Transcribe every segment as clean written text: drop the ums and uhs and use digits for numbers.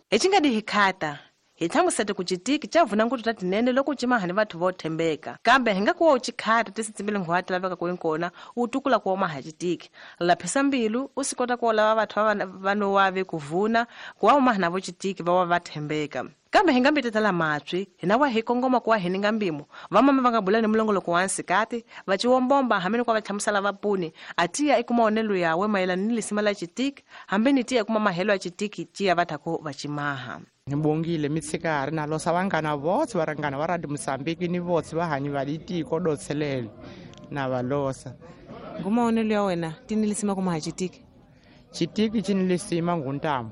Hi ci nga di hi khata hi hlamusete ku citiki ca vuna ngutu ta tinene loko u cimaha ni vathu vo thembeka, kambe hi nga ku wa u ci khata ti si tsimbile nghwa ti laveka ku inkona u tukula ku wa maha citiki. Laphisa mbilu u si kota ku lava vathu va no wa ve ku vuna ku wa u maha na vo citiki va wa va thembeka. Kambe hi nga mbitetela matswi hina wa hi kongoma ku wa hi ninga mbimo vamama va nga bula ni mulongoloko wa nsikati va ciwombomba hambi ni ku va hlamusela vapuni a tiya i kuma onelo yawe mayelana ni lisima la citiki hambi ni tiya kuma mahelo ya citiki tiya va thaku va cimaha. Ni bongile mitshikari na losa vanghana votse va ringana va Radio Mozambique ni votse va hanyi va litiko dotselele na va losa. Ngumaonelo ya wena ti ni lisima kuma ha citiki? Citiki ci ni lisima nguntamu.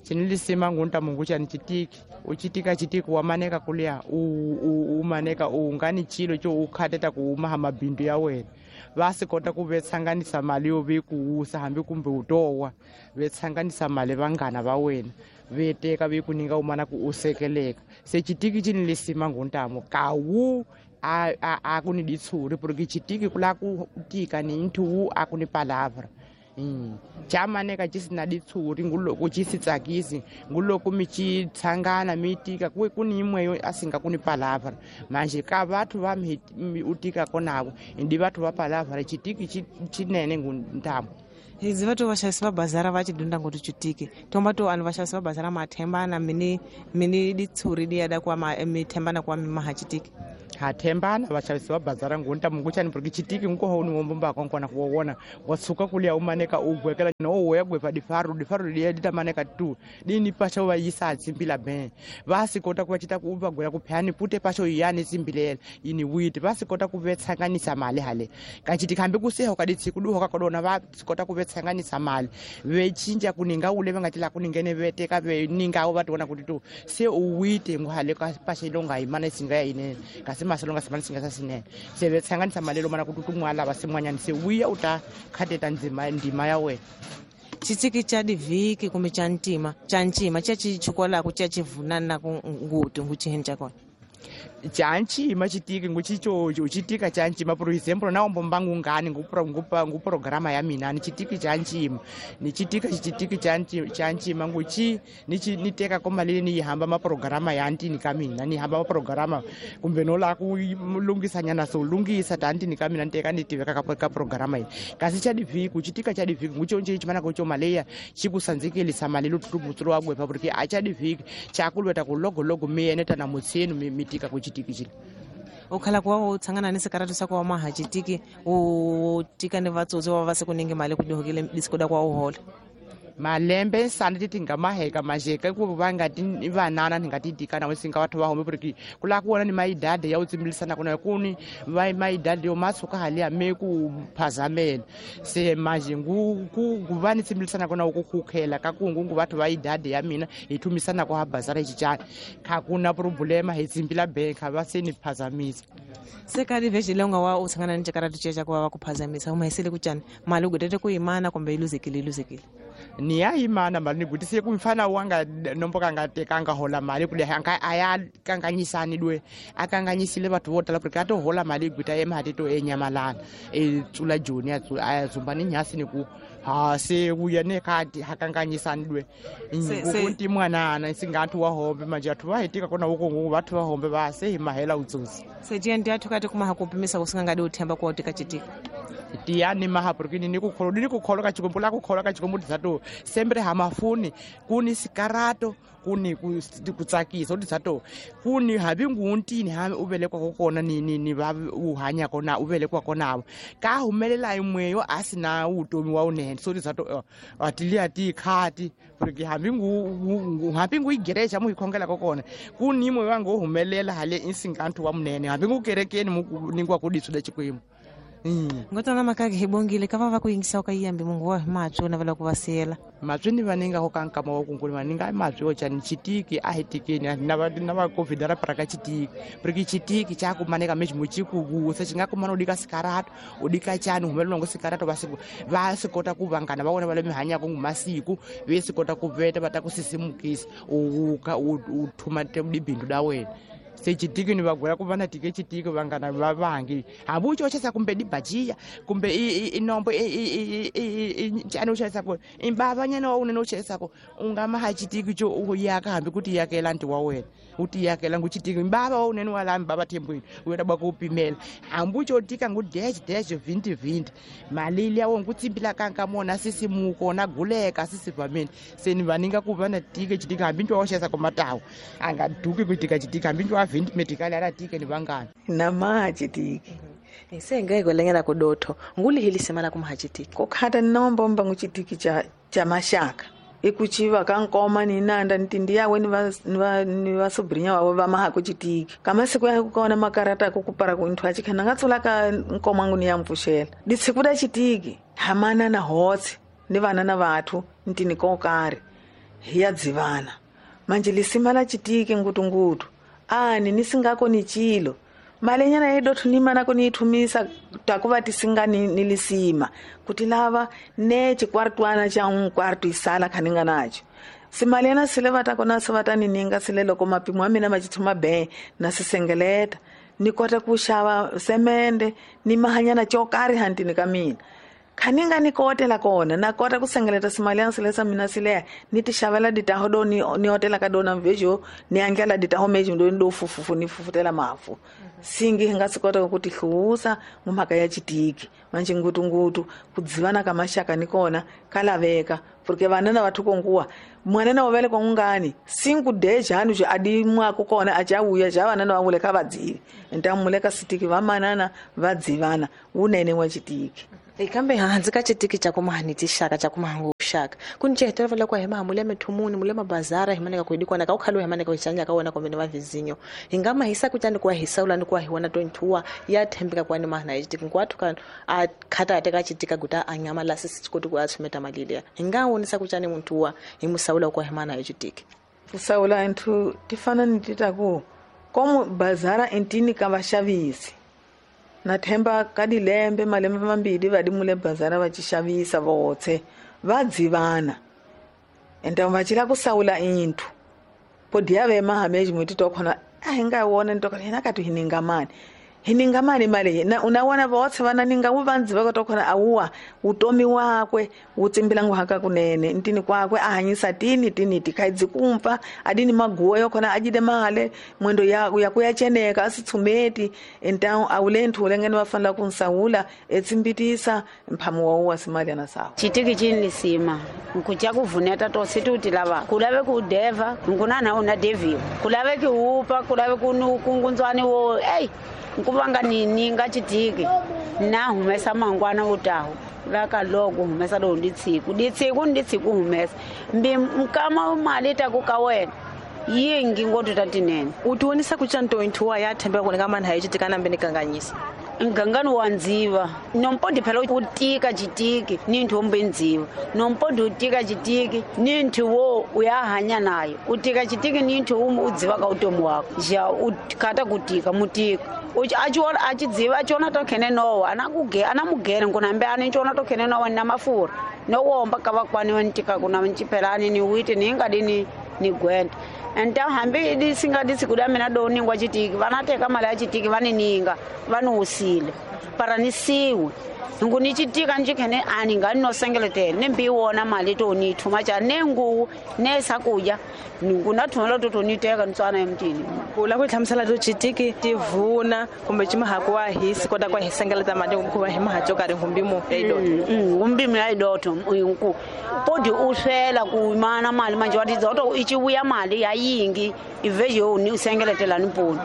Ci ni lisima nguntamu nguchani citiki. Uchitika chitiki wamaneka kulia umaneka ungani chilo cho ukhateta kuumaha mabindu ya wena. Vasikota ku vetsanganisa mali yo ve kuusa hambi kumbe utowa vetsanganisa mali vanghana va wena veteka ve ku ninga umana ku usekeleka. Se chitiki chi ni lisima nguntamu kawu a ku ni ditshuri porque chitiki kula ku tika ni nthu a ku ni palavra. Chamaneka ci sina ditshuri nguloko ci si tsakisi nguloko mi ci tshangana mi tika ku ku ni imweyo a singa ku ni palavra manje ka vathu va mi utika konako ndi vathu va palavra chitiki chinene nguntamu. Hizi vathu va xavisa va bazara va ci dunda ngoti chitiki tomba to anhu va xavisa va bazara mathembana mini mini ditshuri di yada kwa mi thembana kwa mi maha chitiki. Ha thembana va xavisi va bazara ngunta munguchani porque chitiki nkoho ni wombomba konkona ku wona wa suka kulia umaneka ugwekela no wo ya gwepa difaru difaru liya ditamaneka tu dini pasho va yisa tsimbila ben va sikota ku va chita ku va gwela ku phani pute pasho yani tsimbilela yini witi va sikota ku vetsanganisa mali hale ka chitiki hambi ku seho ka ditsiku duho ka kodona va sikota ku vetsanganisa mali ve chinja kuninga ule va nga tila kuningene veteka ve ninga va tona kuti tu se u wite ngwale ka pasho longa imana singa ya inene kasi masalonga samani singa sasinene se vetsanganisa mali lo mana kututumwa lava simwanyana se uya uta khateta ndzima ndima ya wena. Chitiki cha divhiki kumbe cha ntima cha ncima cha chichukwalaku cha chivunana ku ngutu nguchiheni cha kona. Cha ncima chitiki nguchichocho chitika cha ncima por example na ombo ngani ngu programa ya mina ni chitiki cha ncima ni chitika chitiki cha ncima nguchi ni teka komali ni hamba ma programa ya ntini ka mina ni hamba ma programa kumbe no la ku lungisa nyana so lungisa ta ntini ka mina nteka ni tiveka ka programa yi kasi cha divhiki chitika cha divhiki nguchonje chimana ko maleya chikusanzikelisa mali lutubutsiro wa gwepa porque a cha divhiki chakulweta ku logo logo mi ene tana mutsenu mitika ku chitiki chile. Ukhala kwa u tsangana ni sikaratu sa kwa maha chitiki u tika ni vatsotsi wa va se ku ninge mali ku dihokile disikoda kwa u hola. Malembe sana titi nga maheka majeka ku va nga ti vanana ni nga ti dikana we singa vathu va home porque kula ku vona ni maidade ya u tsimbilisana kuna kuni va maidade yo masuka hali ya me ku phazamela se manje ngu ku va ni tsimbilisana kuna ku khukhela ka ku ngu vathu va idade ya mina hi thumisana ku ha bazara xichana kha kuna problema hi tsimbila bank va se ni phazamisa. Se ka divhejele nga wa u tsangana ni xikaratu xa ku va ku phazamisa u mahisele ku chana mali u gudete ku yimana kumbe yi luzekile luzekile. Ni ya imana mali ni gutise ku mfana wanga nomboka nga tekanga hola mali kule anga aya kanganyisani dwe akanganyisile bathu vo tala porque ato hola mali guta emhati to enyamalana e tsula joni ya tsula aya zumba ni nyasi ni ku ha se uya ne khadi hakanganyisani dwe ngunti mwanana singathu wa hombe manje athu va hitika kona uko bathu va hombe va se hi mahela utsotsi se jenti athu kati kuma hakupimisa kusingangadi uthemba kwa utika chitika tiyani maha porque ni ku kholo ni ku kholo ka chikombo la ku kholo ka chikombo tsato sempre ha mafuni kuni sikarato kuni ku tsakisa tsato kuni habi nguntini ha ubelekwa kokona ni va u hanya kona ubelekwa kona ka humelela imweyo asina utomi wa unene so tsato atilia ti khati porque hambi ngu hambi ngu igereja mu ikhongela kokona kuni imwe wango humelela hale insingantu wa munene hambi ngu kerekeni mu ningwa kuditsula chikwimo. Ngotana makake hibongile kava va ku yingisa ka yiyambi mungu wa matswi na vala ku va siyela matswi ni vaninga ko kankama wa kunguli vaninga matswi o chani chitiki a hitikeni na va na va covid ra praka chitiki porque chitiki cha ku maneka mechi muchiku ku se chinga kumana udika sikarato udika chani humelelo ngo sikarato va sikota ku vangana va vona va le mihanya ku masiku ve sikota ku veta va ta ku sisimukisa u thuma te dibindu da wena. Se chitiki ni vagwela ku va na tike chitiki vangana va vangi hambi u chochesa kumbe dibajiya kumbe inombo ncani u xavisako imbavanyana wa unene u xavisako u nga maha chitiki co u yaka hambi ku ti yakela nti wa wena u ti yakela ngu chitiki mbava wa unene wa laha mbava thembwini u yota bwa ku pimela hambi u co tika ngu dash dash 20 mali liya wo ngu tsimbila kanka mona sisimuko na guleka sisivameni se ni vaninga ku va na tike chitiki hambi ntwa wa xavisako matawu a nga duki ku tika chitiki hambi ntwa wa 20 medikali ala tike ni vangani na maha chitiki isengeko lengela kudotho ngulihilise mala kumaha chitiki kukhata ninombomba nguchitiki cha mashaka ikuchiva kankoma ni nanda ntindi yawe ni vasobrinya wawe vamaha kuchitiki kamasiku ya kukaona makarata kukupara kuinthu achikhana ngatsula ka nkoma ngu ni ya mpfuxela ditsikuda chitiki hamana na hotse ni vana na vathu ntini kokari hiya dzivana manje lisima la chitiki ngutungutu ani nisingako ni chilo malenyana yedothu nimanako niithumisa takuva tisinga nilisima kuti lava ne chikwartwana cha nkwartu isala khaninga nacho simalena sile vatakona se vatanininga sile loko mapimo a mina ma chithuma be na sisengeleta ni kota ku xava semende ni mahanyana cokari hantini ka mina khaninga ni kotela kona na kota ku sengeleta simali sile sa mina sileya ni ti xavela ditaho do ni otela ka dona mvejo ni andlela ditaho mejo ndo ndo fufufu ni fufutela mafu singi hi nga swi kota ku ti hluwusa mhaka ya chitiki manje ngutungutu ku dzivana ka maxaka ni kona ka laveka porque vana na vathu konguwa mwana na wavele kongani sinku dejani je adi mwako kona achauya ja vana na vangule ka vadzivi ntamule ka sitiki vamanana vadzivana unene wa chitiki ikambe hanzi ka chitiki cha kumahani tixaka cha kumahangu xaka ku ni cehetola vala ku hema mule mithumuni mule mabazara himaneka ku idikwana ka ukhalo himaneka ku xanja ka wona kumbe ni vavizinyo hi nga mahisa kutani ku hisaula ni ku hiwona 22 ya thembeka kwani mahana chitiki nkwathu ka a khata teka chitika guta a nyama la sisi koti ku a tshumeta mali liya hi nga wonisa kutani muntu wa hi musaula ku hemana hi chitiki kusaula nthu tifana ni titaku komo bazara entini ka vaxavisi na themba ka dilembe malembe mambili va dimule bazara va xavisa votse va dzivana enta va chila ku saula inthu podi ya vema hameji mwiti to khona a hi nga wona nto khona ka tu hininga mani mali na unawana votse vana ninga wu vandzi va to khona awuwa utomi wakwe utsimbila nguhaka kunene ntini kwakwe a hanyisa tini tini tikhaidzi kumpa adini maguwa yo khona ajide male mwendo ya ya kuyacheneka asitsumeti enta awulenthu ulengene vafanela ku nsawula etsimbitisa mphamu wa uwa simali na sawa chitiki chini sima nkucha kuvuneta to situti lava kulave ku deva nkunana una deviwa kulave ki upa kulave ku kungunzwani wo ei nkuvanga nini nga chitiki na humesa mangwana utahu vaka loko humesa lo nditsiku ditsiku nditsiku humesa mbi mkama mali ta ku ka wena yingi ngoto tatinene utionisa kuchanto inthuwa ya thembeka kunika mani hayi chitika nambe nikanganyisa ngangani wa ndziva nompondi phela u tika chitiki ni nthu wombe ndziva nompondi u tika chitiki ni nthu wo u ya hanya nayo u tika chitiki ni nthu u dziva ka utomi wako ja u khata ku tika mutika achidziva achiona to khene nowa ana mugere nkunambe ani chiona to khene nowa na mafura nowomba ka vakwani wa ntika kuna nchiphelani ni witi ni ngadini ni gwenda enta hambi disinga disikuda mina do ningwa chitiki vanateka mali ya chitiki vanininga vanuusile para nisiwe nguni chitika njikhene ani ngani nosengeletele nembiwona mali to nithuma cha nenguwu nesakuja ngunathumela to toniteka ntswana emtini kula ku hlamusela to chitiki tivuna kumbe chimahaku wa hisi kota kwa hisengeleta mali kuva hi mahacho kari ngumbimo ya idoto ngumbimo ya idoto nku podi uswela ku mana mali manje watidza to ichivuya mali ya yingi ivejo ni usengeletela ni poni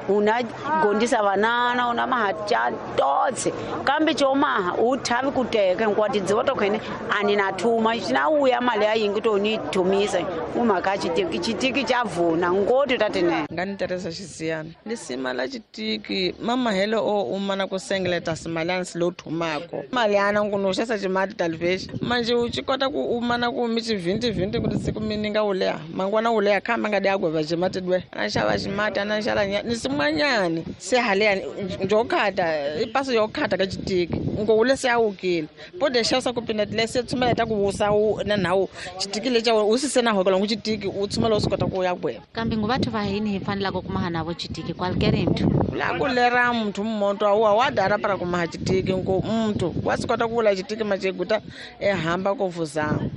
una gondisa vanana una mahacha totse kambe chomaha uthavi kuteka nkwatidziwa tokhene ani na thuma chinauya mali ya yingi to ni thumisa umhaka chitiki chitiki chavuna ngoti tatinene ngani teresa xisiyana lisima la chitiki mamahelo o umana ku sengeleta simalani silo thumako mali yana nkunuxesa ximati talivexi manje u ci kota ku umana ku mi xivhintivhinti kuti siku mininga wuleha mangwana wuleha khamba nga di agweva ximati dwe ana xava ximati ana xala ni Ximanyani se haleyani njokhata ipaso yokhata ka chitiki ngowule se awukile pode xavisa ku pinda lese tshumela ta ku wusa na nawu chitiki lexa u sise na hokela ngu chitiki u tshumela u swi kota ku ya gweva kambe ngu vathu va hini hi fanelaka ku maha navo chitiki kwalkere mthu la ku lera muthu mmonto awuwa wa dara para ku maha chitiki nku muthu wa swi kota ku vula chitiki macheguta ehamba ko vuzama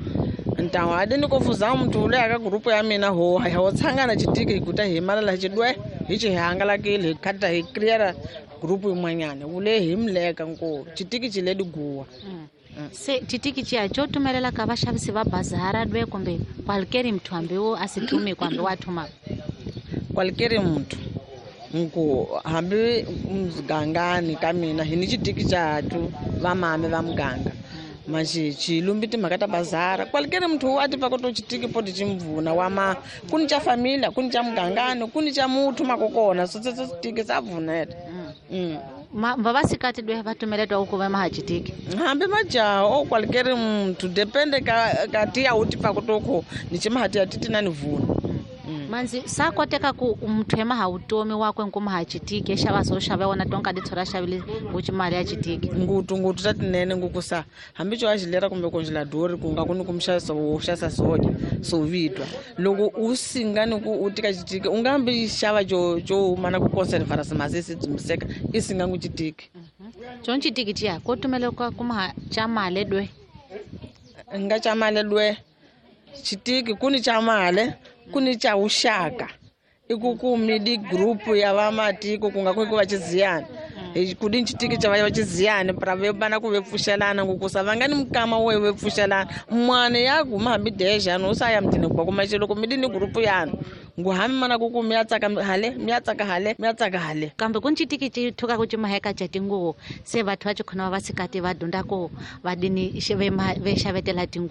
ntawo adini ko vuzama muthu ule aka grupu ya mina ho ho tshangana chitiki higuta hi malala chidwe hi chi hangalakile hi khata hi clear grupu yin'wanyana ule hi mleka nko chitiki chi le diguwa. Se chitiki chiya cho tumelela ka vaxavisi va bazara dwe kumbe kwalkeri muthu hambi wo a si thumi kumbe wa thuma kwalkeri muthu nko hambi mugangani ka mina hi ni chitiki chatu vamame va muganga manje chilumbi timhaka ta bazara kwalkeri muthu a tiva ku to chitiki poti chimvuna wama kuni cha familia kuni cha mugangani kuni cha muthu makokona so tsetso chitiki sa vuneta. Vavasikati dwe va tumeletwa ku va maha chitiki hambi majaha o kwalkeri muthu depende ka tiya u tiva ku to ko ni chimahati ya titi na ni vuna. Manzi sa koteka ku muthu emaha utomi wakwe nkumaha chitiki exava so xava wona tonka ditshora xavile nguchimali ya chitiki ngutu ngutu ta tinene ngukusa hambi cho a xilera kumbe ku njila dori ku nga ku ni ku mxavisa wo xavisa soja so vitwa loko u singa ni ku u tika chitiki u nga hambi xava jo jo mana ku conservara simasisi dzumiseka i singa ngu chitiki chon chitiki chiya ko tumele ka kumaha cha male dwe nga cha male dwe chitiki kuni cha male kuni cha uxaka iku ku midi group ya vamatiko ku nga ku va chiziyana kudi chitiki cha va chiziyana para ve bana ku ve pfuxelana ngukusa va nga ni mukama wo ve pfuxelana mwana ya guma hambi deja no sa ya mtini ku kuma xilo ku midi ni group yana ngu hambi mana ku ku mi ya tsaka hale mi ya tsaka hale mi ya tsaka hale kambe ku chitiki chi thuka ku chimaheka cha tinguwo se vathu va chikhona va sikati va dunda ko va dini ve xavetela tinguwo.